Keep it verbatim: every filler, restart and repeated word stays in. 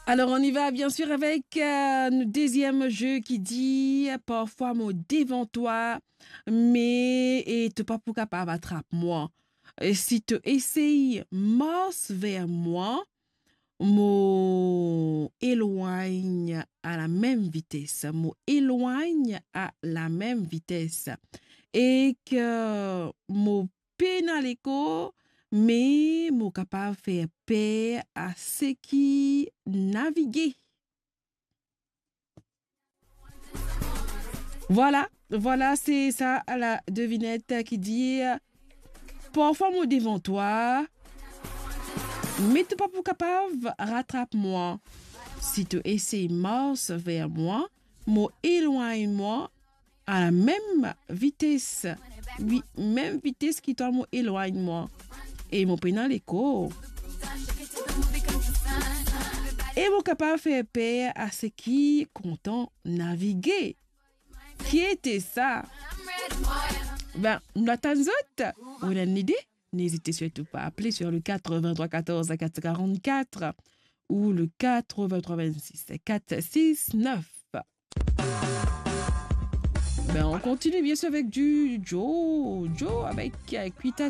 Alors, on y va bien sûr avec, euh, nou deziem ze ki dir, parfwa mo devan twa, me, e, to pa pou kapav atrap mwa. E si to esey mars ver mwa, mo elwagn a lamem vites. Mo elwagn a lamem vites. Ek mo pena lekor, me mo kapav fer per a seki navige. Vwala, vwala, se sa la devinet ki dir, parfwa mo devan twa, me to pa pou kapav ratrap mwa. Si to esey mars ver mwa, mo elwagn mwa a lamem vites. Wi, mem vites ki twa mo elwagn mwa. E mo pena lekor. E mo kapav fer per a seki kontan navige. Ki ete sa? Ben, nou atann zot. Ou ena enn lide? N'hésitez surtout pas à appeler sur le quatre-vingt-trois quatorze quatre cent quarante-quatre ou le quatre-vingt-trois vingt-six quatre six neuf. Ben, on continue bien sûr avec du Joe. Joe avec, euh, Quita